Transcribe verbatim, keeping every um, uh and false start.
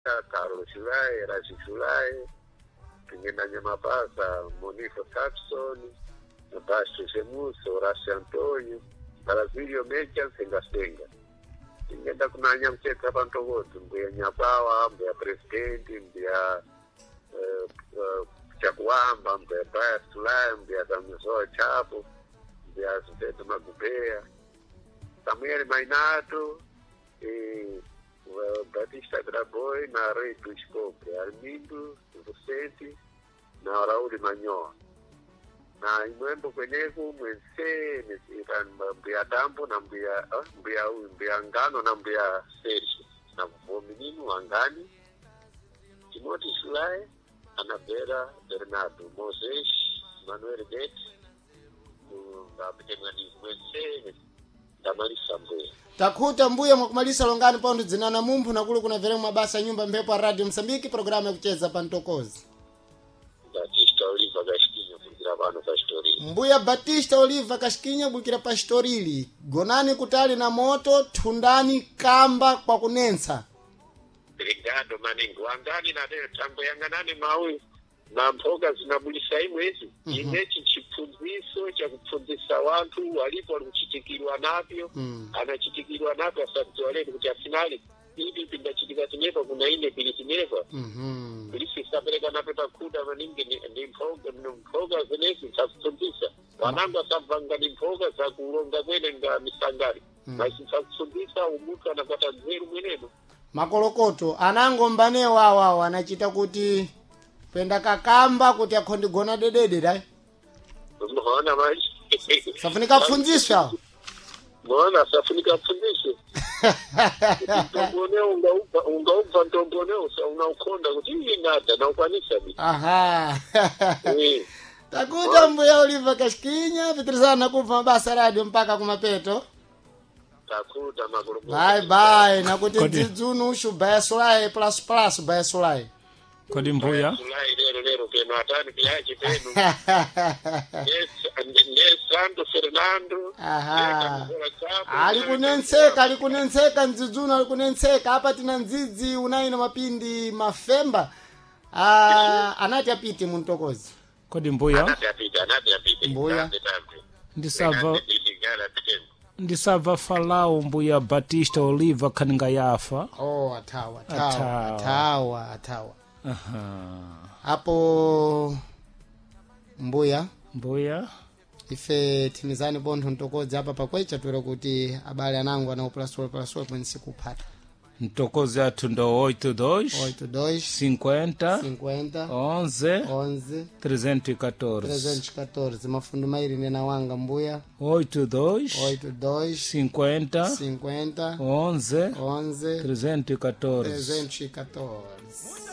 Carlos Shulai, Rashi Shulai, Pingenda Nyamapasa, Monifo Saxon, Basto Semuso, Horacio Antônio, Brasílio Mecha, Senga Senga. Tingenda kunanya mcheka pantokoto, mbuya Nyapawa, mbuya Presidente, mbuya eh, eh, Chakuamba, mbuya Baya Sulai, mbuya Damizoa Chapo, mbuya Zimpeto Magubea, Samuel Mainato, e Batista Graboy na Rei dos Cobre, Armindo Vicente na Raul Manyoa na imwembo kweneku mwense mbuya dambo na mbuya ah, mbuya uyu mbuya ngano na mbuya Sergio na vomininu wangani Timothy Sulai Anabela Bernardo Moses Manuel Bet ngapitemwani mwense ndamalisa mbuya Takhuta mbuya mwakumalisa longani pondo dzinana mumphu nakulu kuna veremu mabasa nyumba mphepo ya radio Msambiki programu yakucheza pa mtokozi Batista Oliva Gasquinha kubvira pano pastorili mbuya Batista Oliva Kashikinya bukira pa Shitorili gonani kutali na moto thundani kamba kwa kunensa Obrigado maningi wangani nateyo tambo yanganani mauyu na mphoka zinabulisa imwezi mm -hmm. inechi chipfundziso chakupfundzisa wanthu walipo walikuchitikirwa napyo Mm. anachitikirwa napyo asadziwa letu kuti afinali ipi pindachitika tinepa kuna ine pili tinepa Mhm. pilisi sapereka napo takhuta maningi ni- ni mphoka ni mphoka zenezi zakupfundzisa wanangu asabvanga ni mphoka zakulonga kwene nga misangari mm. basi zakupfundzisa umunthu anakwata nzeru mwenemo makolokoto anangombanewo awawo anachita kuti penda kakamba kuti akhondigona dedede dai mona manje safunika pfundziswe awo mona safunika pfundziswe mtomboneo ungaubva ungaubva mtomboneo sa unaukonda kuti iyi nada naukwanisa bi aha Eh, takuta mbuya Oliva Kashikinya pitirizana kubva mabasa radio mpaka kumapeto takuta makolokoto bye bye nakuti Kodi. dzidzunu ushu baya sulayi plus plus baya sulayi kodi mbuya Sulai lero lero peno atani piyachi peno ne Santo Fernando Aha. ali kunentseka ali kunentseka mdzidzunu ali kunentseka apa tina ndzidzi unayi na mapindi mafemba ah, anati apite muntokozi kodi mbuya anati apite anati apite Mbuya. Tambe, tambe. ndisabva Anati apite, ngala apite. ndisabva falau mbuya Batista Oliva khaninga yafa oh athawa athawa Athawa. athawa athawa Aha. apo mbuya mbuya ife thimizani pontho mtokodzi apa pakwecha twera kuti abale anango anaupulasulapulasul kwense kuphata mtokozi athu ndo oito dois oito dois cinquenta cinquenta onze onze trezentos e quatorze trezentos e quatorze mafundo mairi nena wanga mbuya oito dois oito dois cinquenta cinquenta onze onze trezentos e quatorze trezentos e quatorze